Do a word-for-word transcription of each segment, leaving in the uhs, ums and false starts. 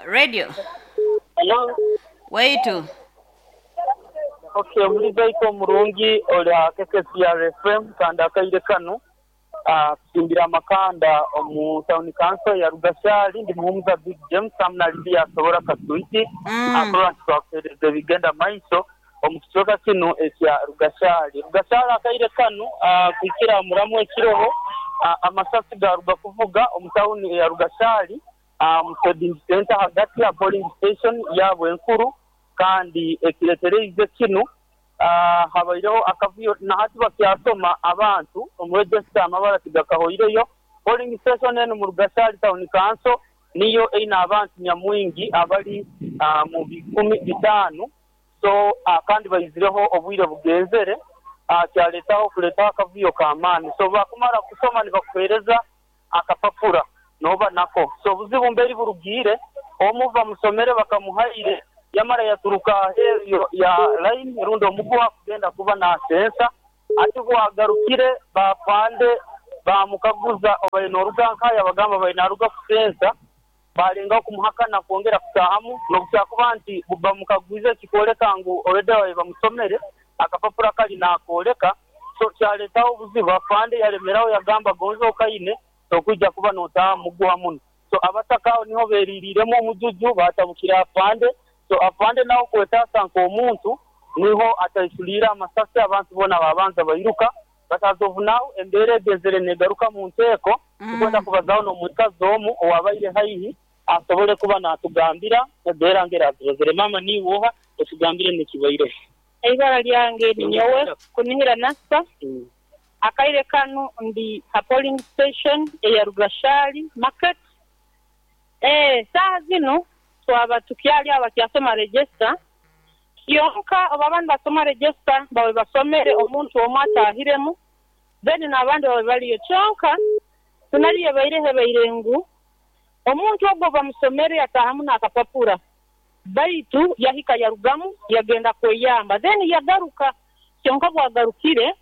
Radio. Hello. Waitu. Okay, omulizaito omurungi olya K K C R F M kandi akaire kanu tusimbira amakanda omu town council ya Rugashali ndi muhumuza Big James amna Libya asobora kasuiti mm. Akola twakuhereza ebigenda maiso omu kicweka kinu ekya Rugashali. Rugashali akaire kanu kuhikira muramu ekiroho amasasi garuga kuvuga omu town ya Rugashali mu trading center hagati ya polling station yabwe enkuru kandi ekiretereize kinu Uh, habaireho akavuyo na hati bakyasoma abantu omu register amabara tigakahoireyo. Polling station eno mu Rugashali town council niyo eina abantu nyamwingi abali uh, mu bikumi bitaano so uh, kandi baizireho obwire bugenzere uh, kyaletaho kuletaho akavuyo k'amaani. So bakumara kusoma nibakuheereza akapapura noba nako. So obuzibu mberi burugiire omuva musomere bakamuhaire yamara yaturuka aheeru ya line rundi omuguha kugenda kuba nasensa ati bwagarukire bapande bamukaguza obaine oruga nkaya bagamba baine aruga kusensa balengaho kumuhakana kwongera kutahamu n'obukyakuba nti bamukaguize kikwoleka ngu already babaire bamusomere akapapura kali nakwoleka. So kyaletaho obuzibu afande yalemeraho yagamba gonza okaine tokwija kuba notaha muguha muno. So abataka aho niho beriiriremu omujuju batabukira afande. So afande naho kwetaasa nk'omuntu niho ataisuliire amasasi abantu boona babanza bairuka batazovunaho embeera egezere negaruka mu nteeko. Tukwenda kubazaho n'omukazi omu owabaire haihi asobole kuba natugambira embeera ng'erazirozere. Mama niiwe oha otugambire nekibaireho. Eibara lyange ninyowe kunihira nasa. Mm. Akaire kanu ndi ha polling station eya Rugashali market. Eh, saaha zinu twaba tukyali abakyasoma register kyonka oba abandi basoma register bawe basomere omuntu omwe atahiremu then n'abandi bawe baliyo kyonka tunaliyo baireho baire ngu omuntu ogwo bamusomere atahamu n'akapapura baitu yahika yarugamu yagenda kweyamba then yagaruka kyonka bwagarukire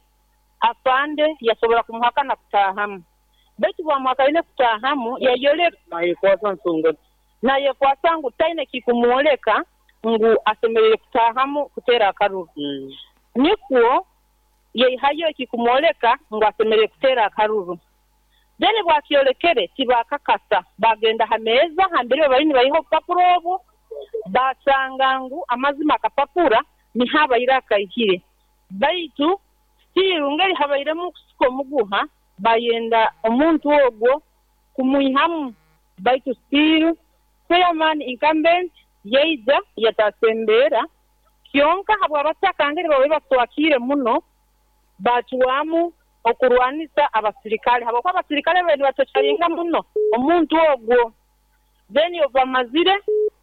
afande yasobora kumuhakana kutahamu baitu bwamuhakaine kutahamu yayoleka nayekwasa nsonga nayekwasa ngu taine kikumwoleka ngu asemerere kutahamu kuteera akaruru. Mm. Nikwo yeihayo ekikumwoleka ngu asemerere kuteera akaruru then bwakyolekere tibakakasa bagenda ha meeza hambere bari nibaiha obupapura obwo basanga ngu amazima akapapura niho abaire akaihire baitu still ngeri habairemu okusika omuguha bayenda omuntu ogwo kumwihamu baitu still chairman incumbent yaija yatasembeera kyonka habw'abataka ngeri babaire batwakire muno bacwamu okurwanisa abasirikale habwokuba abasirikale babaire nibatokyaringa muno omuntu ogwo then obamazire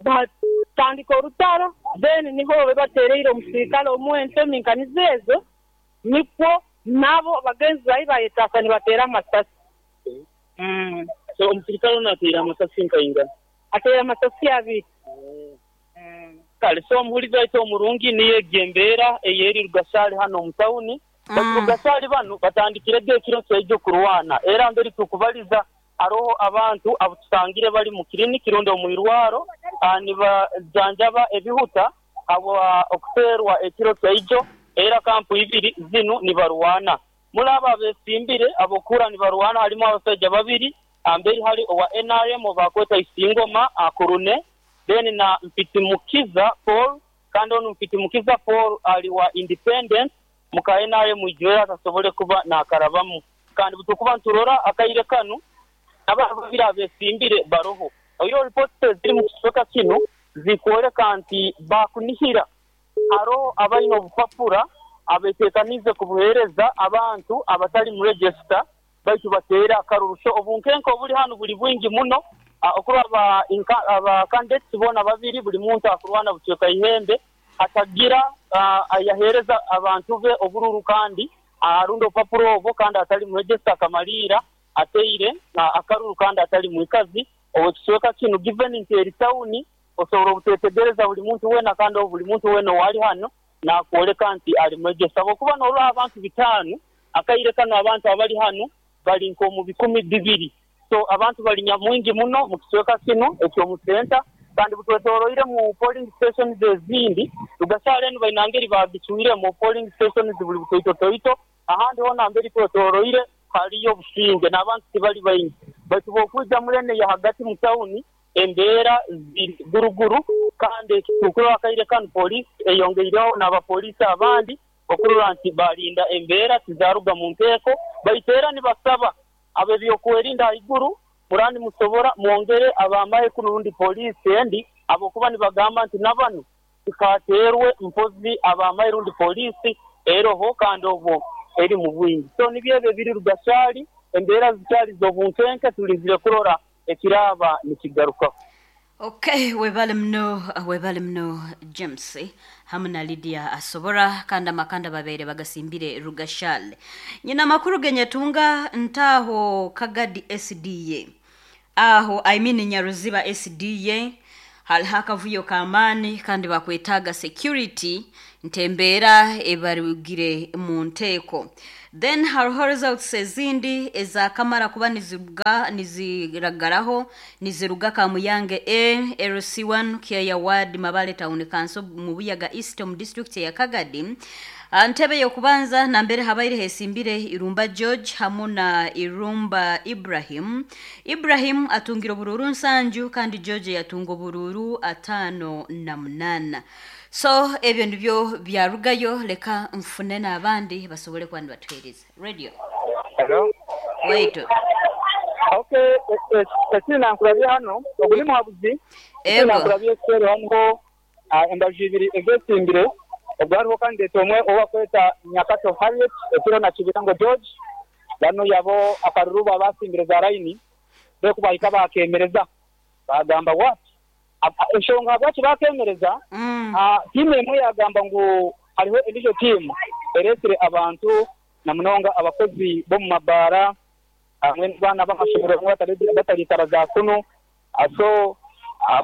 batandika orutaro then niho babaire batereire omusirikale omwe entemi nkanizo ezo nikwo nabo bagenzi bayi bayetaasa nibateera amasasi. Mm. So omusirikale ono ateire amasasi nkaingana? Ateire amasasi abiri. Mm. Kale so omuhulizi waitu omurungi niyo egyo embeera eyeri Rugashali hano omu tawuni. Mm. Rugashali banu batandikirege ekiro kyaijo kurwana era mberi tukubaliza aroho abantu abutusangire bali mu kiriniki rundi omu irwaro nibajanjaba ebihuta abo okuteerwa ekiro kyaijo era kampu ibiri zinu nibarwana. Muri abo abesimbire abokura nibarwana harimu abasaija babiri amberi hari owa N R M obakweta Isingoma akurune then na Mpitimukiza Paul kandi onu Mpitimukiza Paul ali wa independent muka N R M ijwera atasobole kuba nakarabamu kandi butukuba nturora akaire kanu abantu babiri abesimbire baroho. Oyo report ziri mu kicweka kinu zikwoleka nti bakunihira aro abaine obupapura abeteekanize kubuheereza abantu abatali mu register baitu bateera akaruru. So obunkenke obuli hanu buli bwingi muno okuraba aba candidates boona babiri buli muntu akurwana bucweka ihembe atagira ayaheereza abantu be obururu kandi arunda obupapura obwo kandi atali mu register akamaliira ateire akaruru kandi atali mwikazi owekicweka kinu given nti eri tawuni osobola obutetegereza buli muntu weena kandi buli muntu weena owali hano nakwoleka nti ali mu register. Habwokuba norora abantu bitaano akaire kano abantu abali hano bali nk'omu bikumi bibiri So abantu bali nyamwingi muno mu kicweka kino eky'omusenta, kandi butwetoroire mu polling stations ezindi. Rugashari enu baina ngeri bagicwire mu polling stations buli butoitotoito, ahandi hona mberi twetoroire haliyo obusinge n'abantu tibali baingi. Baitu bw'okwija murene ya hagati mu tawuni embeera ziri guruguru, kandi ekitukurwa akaire kanu polisi eyongeireho n'abapoliisi abandi okurora nti balinda embeera tizaruga mu nteeko. Baitu era nibasaba ab'ebyokwerinda haiguru murandi musobora mwongere abamahe kuno rundi polisi endi, abokuba nibagamba nti nabanu tikaterwe mpozi abamahe rundi polisi eroho kandi obwo eri mu bwingi. So nibyo ebyo ebiri Rugashari, embeera zikyali z'obunkenke, tulizire kurora ekiraba nikigarukaho. Okay, webale muno, webale muno James hamu na Lydia Asobora, kandi amakanda babeere bagasimbire Rugashale. Nyina amakuru genyetunga ntaho Kagadi S D A, aho I mean Nyaruziba S D A, haliho akavuyo k'amaani kandi bakwetaaga security ntembeera ebarugire mu nteeko. Then hariho results ezindi ezakamara kuba niziruga, niziragaraho, niziruga Kamuyange A, L C one, Kyaya Ward, Mabale Town Council, mu Buyaga East mu district ya Kagadi. Ntebe y'okubanza nambere habaire hesimbire Irumba George hamu na Irumba Ibrahim. Ibrahim atungira obururu nsanju kandi George yatunga obururu atano na munana. So ebyo nibyo byarugayo, leka mfune n'abandi basobole kuba nibatuheereza. Radio. Hello. Wait. Okay, esina nkurabye hano, oguli muhabuzi. Ego. Nkurabye esero hano, embaju ibiri egesimbire. Ogwariho candidate omwe owakweta Nyakato Harriet, ekiro na Kibirango George. Bano yabo akaruru babasimbire za line, bekubahika bakemereza. Bagamba what? Enshonga bwaki bakemereza? Mm. Ah, timu emwe yagamba ngu hariho endijo timu eresire abantu na munonga abakozi bo mu mabara hamwe n'abaana b'amashomero bamwe batari-, bataritara za kuno. So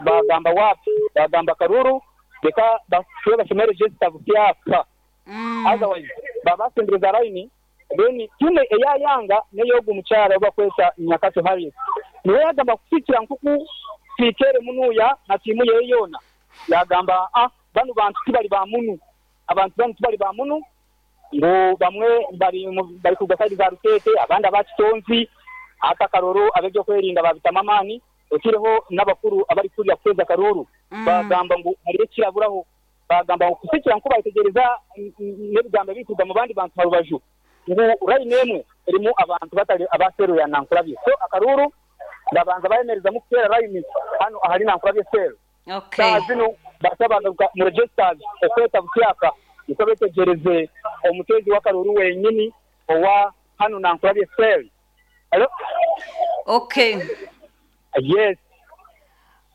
bagamba wapi? Bagamba karuru reka basubiye basome register busyaka. Mm. Otherwise babasimbiriza line, then timu eyayanga neyogu mukyala obakwesa Nyakato Harriet. Niwe yagamba kusikira nkuku sikere munuya na timu ye yona. Yagamba ah bano bantu tibali ba munu. Abantu bano tibali ba munu ngo bamwe bari bari kuga side za Rutete, abandi abakitonzi ata karoro abebyo kwerinda babitama amani, okireho n'abakuru abari kurya kweza karuru. Mm. Bagamba ngo hari kiraburaho, bagamba ngo kusikira nkuba itegereza n'ebigambo bikuga mu bandi bantu harubaju ngo urayi nemwe erimu abantu batari abaseru ya Nankurabye. So akaruru ndabanza bayemereza mu kutera line hano ahari Nankurabye sero. Okay. Saa zino basaba mu registers okweta busyaka niko betegereze omutezi wa karuru wenyini owa hano Nankurabye sero. Hello? Okay. Yes.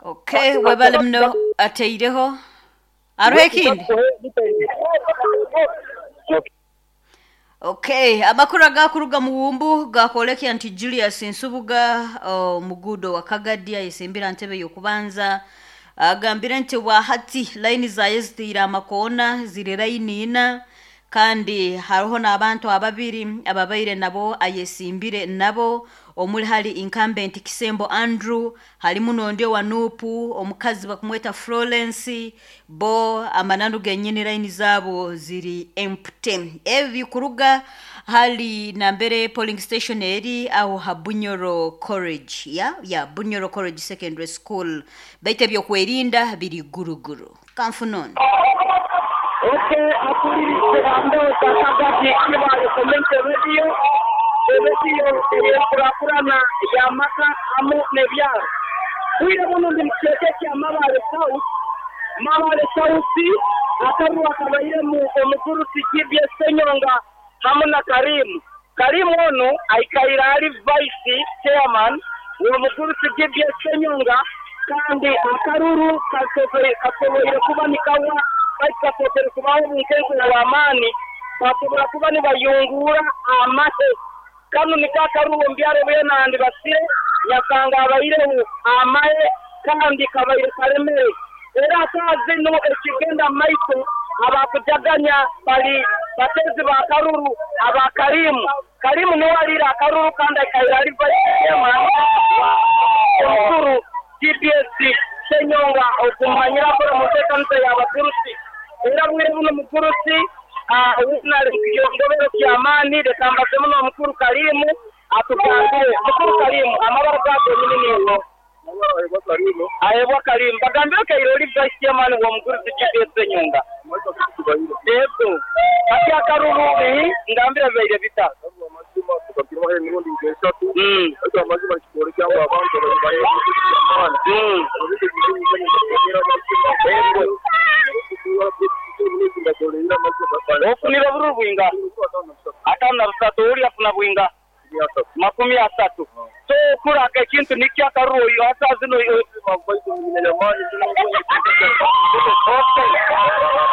Okay, webale muno ateireho. Aruhe kindi? Okay, amakuru agakuruga mu wumbu gakolekya nti Julius Nsubuga omugudo wa Kagadi ayesimbira ntebe y'okubanza agambire nti wahati line zaye zitira amakona ziri line ina, kandi hariho n'abantu ababiri ababaire nabo ayesimbire nabo omuli hali incumbent Kisembo Andrew, halimu n'ondi wa Nupu omukazi bakumweta Florence, bo amananu genyini line zabo ziri empty. Ebi kuruga hali nambere polling station eri aho ha Bunyoro College, ya ya Bunyoro College Secondary School, baite byo kwerinda biri guruguru. Kamfunon. Okay, akulirize ambao takagati kiba community radio radio ekurakurana ya maka amu nebyaro. Kuira muno ndi mukeke kya Mabale South, Mabale South akarwa kabaire mu omukuru G B S Senyonga hamwe na Karimu. Karimu ono aikaira ali vice chairman omukuru G B S Senyonga, kandi akaruru kasoboire kasoboire kuba nikawa bakatokere kubaho omunkenko w'amaani, basobora kuba nibayungura amahe. Kanu nikakaruwo mbyaro byenandi basire nyakanga abaireho amahe kandi kabaire karemere. Era atazi no ekigenda maiso Abakujaganya bali batezi ba Karuru aba Karimu. Karimu niwe alira Karuru kandi akaira ali vice chairman omukuru G P S Senyonga okumanyira ko mutekanisa y'abagurusi era bwire buno mugurusi wina kiyongobero ky'amaani reka mbazemu n'omukuru Karimu atugambire. Mukuru Karimu, amabara gago nini nigo? Ayebwa Karimu. Bagambire kairo oli vice chairman wa mugurusi G P S Senyonga. Yego. Ati akaruru ngambira baire bita. Mm. Mm. Ofunira bururu bwinga. Atano na busatu uri afuna bwinga. Makumi asatu. So kuraka ekintu nikyo akaruru oyo hasa zino. Okay.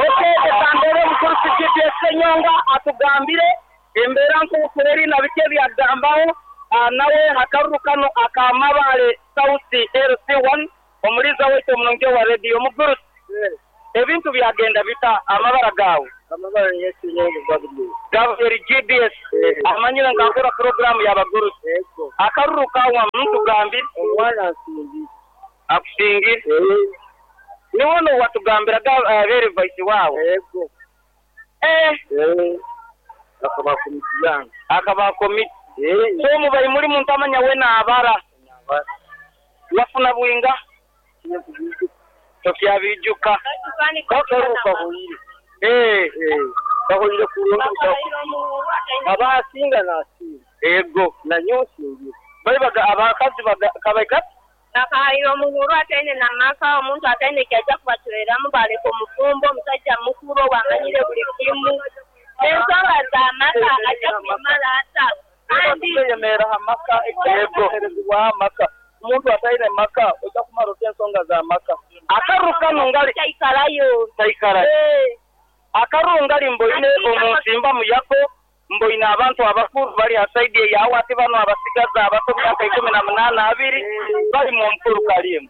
Okay, etambere mukuru G P S Senyonga atugambire embera nk'okweri na bike byagambaho nawe akaruru kano akamabale South L C one omuliza waitu omunonge wa radio muguru. Ebintu byagenda bita amabara gawe. Amabara yesu nyonga Gabriel. Gabriel G B S amanyira ngakora program y'abagurusi. Akaruru kawa muntu gambi omwana asingi. Akusingi. Eh. Niwono watugambira ga bere vice wawe. Yego. Eh. Eh. Akaba komiti yange. Akaba komiti. Eh. So mubayi muri muntu amanya we na abara. Wafuna bwinga. Tofya bijuka. Karuka hoyire. Eh. Eh. Kahoyire kulonda. Abasinga nasinga. Ego. Na nyosingi. Bali baga abakazi baga kabaika. Bakahayira omuhuru ataine namaka omuntu ataine kyajja kubatweramu baleka omufumbo omusajja mukulu wamanyire buli kimu ensonga z'amaka ajja kubimala ata kandi kweyemera amaka ekiheerezibwa amaka omuntu ataine maka ojja kumara otya ensonga z'amaka akaruru kano ngali taikarayo taikarayo akaruru ngali mboine omunsimba muyako mboine abantu abakuru bali asaidi yawe ati bano abasigaza abato myaka ikumi na munana abiri bali mu mukuru Karimu.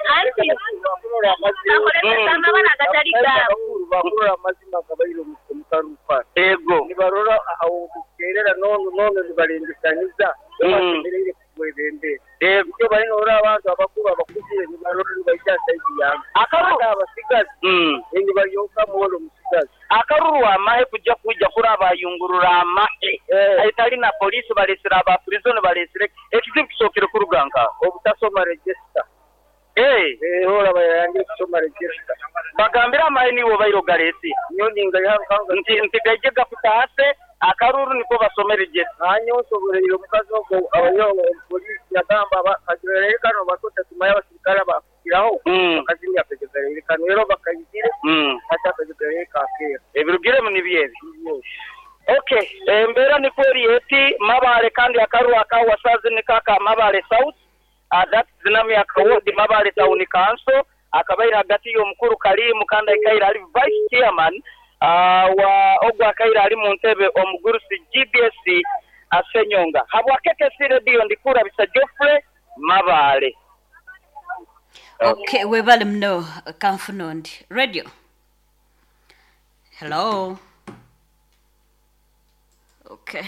Anti bakolesesa amabara agatali gaabo. Bakurora amazima gabaire omukarupa. Ego. Nibarora aho kukerera nono nono nibalindikaniza basemereire kubwebembera. Ego. Icyo bari norora abantu abakuru abakuzire nibarora nibaija saidi yange. Akaruru abasigazi nibaryoka muwolo omusigazi. Akaruru amahe kujja kujja kurabayungurura amahe. Aitali na polisi balesera aba prison balesere ekizibu kisookere kuruganka obutasoma register. Eh, eh hora bayange kusoma register. Bagambira amahe niwo bayirogaresi. Nyoni ngayanga nti nti gakutase akaruru niko basome register. Hanyo soborero mukazi ko abayo polisi yagamba bakagirere kano batota tumaya abasirikale bakiraho bakazimya akagirere kano rero bakayigire ata akagirere kakera. Ebirugire mu nibyebi. Okay, embera ni kweri eti Mabale kandi akaruru akawa sazi ni kaka Mabale South. Uh, that zinami akawodi Mabale Town Council akabaira hagati y'omukuru Karimu kandi akaira ali vice chairman uh, wa ogwa akaira ali mu ntebe omugurusi G B S Asenyonga. Habwa K K C Radio ndikura bisa Geoffrey Mabale. Okay, webale mno kanfunondi. Radio. Hello. Okay.